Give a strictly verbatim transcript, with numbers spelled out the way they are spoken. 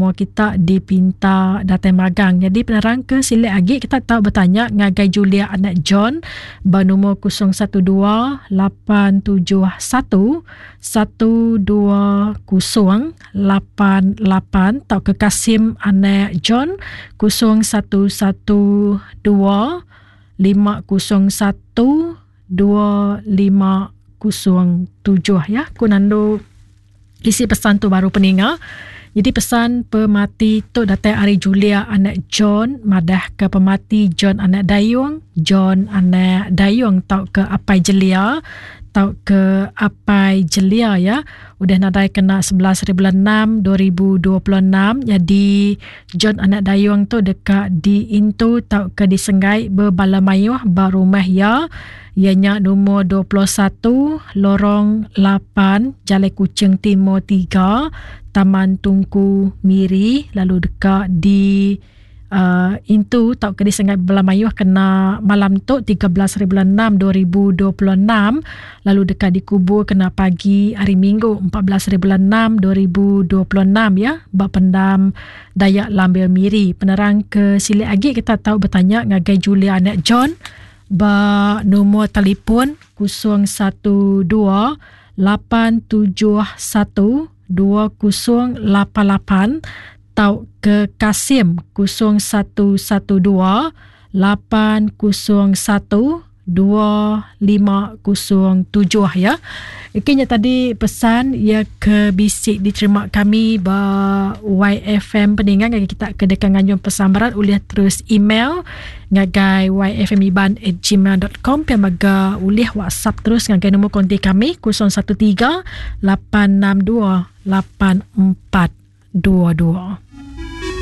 Semua kita dipinta datai magang. Jadi penerang ke silik agi kita tau betanya ngagai Julia anak John ba nombor kosong satu dua lapan tujuh satu satu dua kosong lapan lapan tau ke Kasim anak John kosong satu satu dua lima kosong satu dua lima kosong tujuh ya. Ku nandu isi pesan tu baru peninga. Jadi pesan pemati tu datang ari Julia anak John madah ke pemati John anak Dayung, John anak Dayung tau ke Apai Jelia, tau ke Apai Jelia ya. Udah nadai kena sebelas hari bulan enam dua ribu dua puluh enam. Jadi John anak Dayung tu dekat di intu tau ke disenggai berbala mayuh ba rumah ya. Ianya nombor dua puluh satu Lorong lapan Jalai Kuching Timur tiga Taman Tungku Miri, lalu dekat di, uh, intu tau ke disengai bela mayuh kena malam tu tiga belas hari bulan enam dua ribu dua puluh enam, lalu dekat dikubur kena pagi hari Minggu empat belas hari bulan enam dua ribu dua puluh enam ya, ba pendam Dayak Lambil Miri. Penerang ke silik agi kita tahu bertanya ngagai Julia anak John ba nombor telefon kosong satu dua lapan tujuh satu dua kosong lapan lapan tau ke Kasim kosong satu satu dua lapan kosong satu dua lima kosong tujuh ya. Ikinya tadi pesan ya ke bisik diterima kami ba Y F M peningan ngagai kita ke dekat nganjung pesan berat ulih terus email ngagai y f m iban at gmail dot com pia maga ulih WhatsApp terus ngagai nombor kontak kami kosong satu tiga lapan enam dua lapan empat dua dua.